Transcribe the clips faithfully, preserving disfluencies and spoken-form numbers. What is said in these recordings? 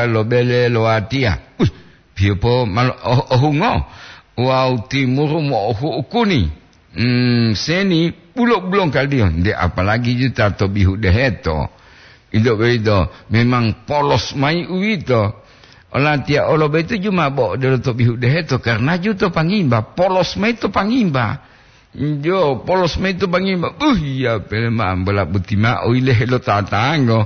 lo bele lo watiya. Uih, piyopo malo oh-, ohungo wawu timuru mo'ohu'u kuni. Hmm, seni bulo-bulongkaliyo, nde apalagi ju ta to bihu deheto. Ito boyito memang polos mayi uwito. Olatiya olo boyito ju ma bo odelo to bihu deheto, karena ju to pangimba, polos mayi to pangimba. Jo, polos mayi to pangimba. Uh, iya, pele ma ambola boti mao ile helo tatango.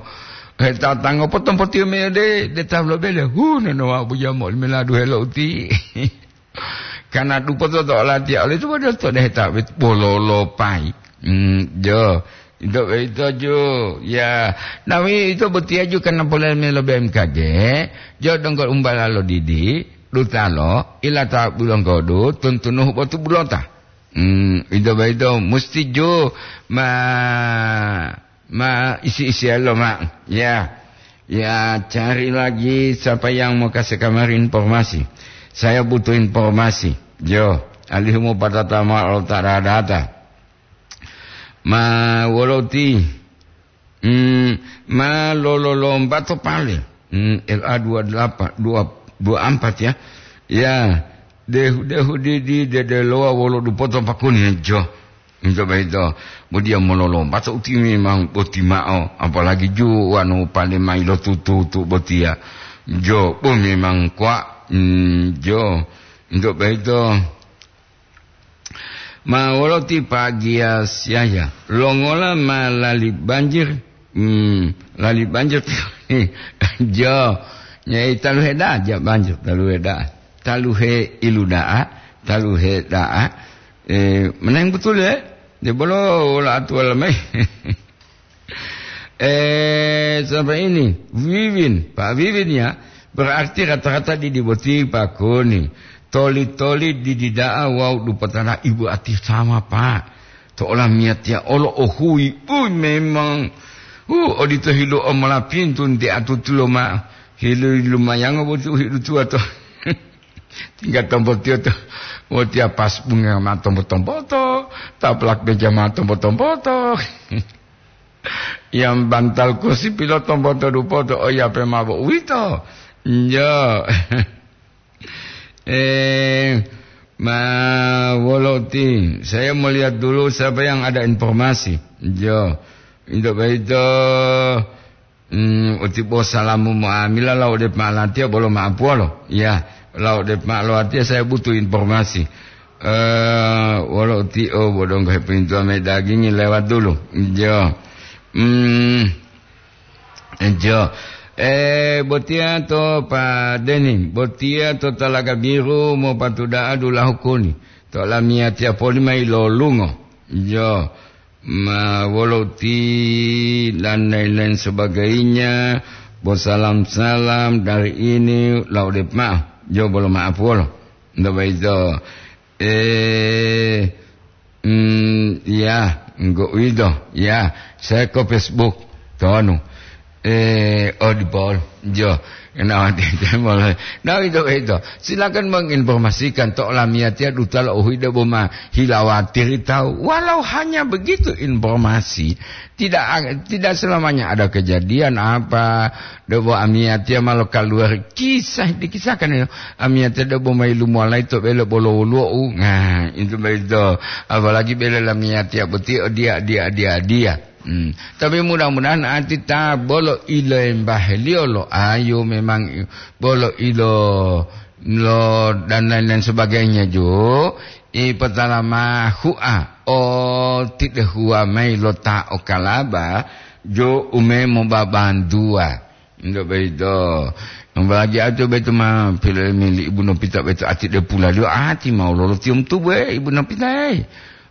He tatango potompotiyo mayi ode, de tawu lo bele. Hu, nono wa bujamo limela duhelo uti. Kana dupoto to olatiya ole to bodo to deheta wit bololopayi. Hmm, jo. Ito, ito ju. Ya, nawi ito botiya ju kana polele melo B M K G. Jo donggo umbala lo didi, dutalo, ilata bulonggodu, tuntunuhu botu bulota. Hmm, ito boyito musti ju ma, ma isi-isiyalo ma. Ya. Ya, cari lagi siapa yang mau kasih kamari informasi. Saya butuh informasi. Jo, alihu mau patata ma lo ta data. Ma woloti. Hmm, ma lololomba to pale. Hmm, L A dua delapan, dua, dua empat ya. Ya, dehu-dehu di, di dedelowa wolo dupoto pakuni jo. Ito boyito, bo diya mololomba to uti memang boti mao, apalagi ju wanu pale mayi lo tutu-tutu botiya. Jo, bo memang kwa, hmm, jo. Ito boyito, ma wolo ti pagiya siyaya, longola ma lali banjir, hmm, lali banjir, jo, nyai taluhe da'a, ja banjir, taluhe da'a, taluhe ilu da'a, taluhe da'a, Eh, menang betul ya? Dia bolo wala atuwala mai. Eh, sampai ini, Wiwin, Pak Wiwin ya, berarti rata-rata di, di boti Pak Koni. Toli-toli di, di da'a wau dupatana ibu ati sama, Pak. To olamiyatiya olo ohui, uy, memang, uh, odito hilu omola pintu nti atutulo ma, hilu lumayango boti uhidu tuwa to. Tingga tombotiyo to, wotiya pas bunga ma tombo-tomboto, taplak meja ma tombo-tomboto. Yang bantal kursi pilo tomboto dupoto, oyape mabo uwito. Njo. Eh, ma woloti. Saya mau lihat dulu siapa yang ada informasi. Jo. Ito boyito. Hmm, uti bo salamu mo'amila lau de ma'alatiya bolo ma'apuwolo. Ya, lau de ma'alowatiya saya butuh informasi. Eh, wolo uti o bodonggo hepintuwa me dagingi lewat dulu. Jo. Hmm, jo. Eh, botiya to Pak Deni, botiya to Talaga Biru mopatuda'a dulahu kuni. To lamiyatiya poli mayi lolungo. Jo. Ma wolo ti dan lain-lain sebagainya, bo salam-salam dari ini, lau de ma'o, jo bolo ma'apuwolo. Nto boyito, eh, mm, ya, enggo uwito, ya, saya ke Facebook, tonu. Eh, oh, di Paul. Jo, enawa tete mulai. Nah, itu, itu. Silakan menginformasikan to lamiyatiya duta lo uhuyi debo ma hilawatiri tawu. Walau hanya begitu informasi, tidak, tidak selamanya ada kejadian apa, debo amiyatiya malo keluar kisah dikisahkan itu. Amiyatiya debo mai lumolai to bele bolo woluwo. Nah, itu begitu. Apalagi bele lamiyatiya boti, oh, dia, dia, dia, dia. Hmm. Tapi mudah-mudahan ati ta bolo iloembaheliyo lo ayu memang bolo ilo lo dan lain-lain sebagainya jo, ipotala ma hu'a o tidehuwa mayi lo ta o kalaba jo umemo babantuwa. Nto boyito. Apalagi ati boyito ma pilolimi li Ibu Nopita boyito ati de pulaliyo ati ma lolo tiyom tubu, eh, Ibu Nopita, eh.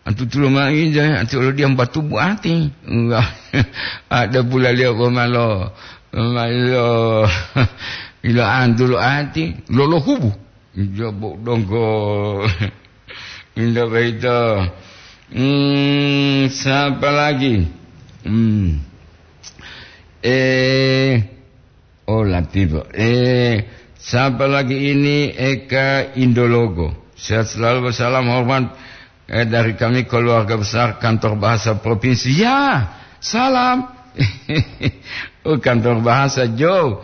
Antu tulo ma ija, ati olo diam batubu ati. Enggak. Ada pulaliyo bo malo, malo ilo antulu ati, lolo hubu. Jobo donggo. Inda boyito. Hmm, siapa lagi? Hmm. Eh, oh, Latifa. Eh, siapa lagi ini? Eka Indologo. Sehat selalu, salam hormat, eh, dari kami keluarga besar Kantor Bahasa Provinsi. Ya, salam. Oh, Kantor Bahasa, Jo.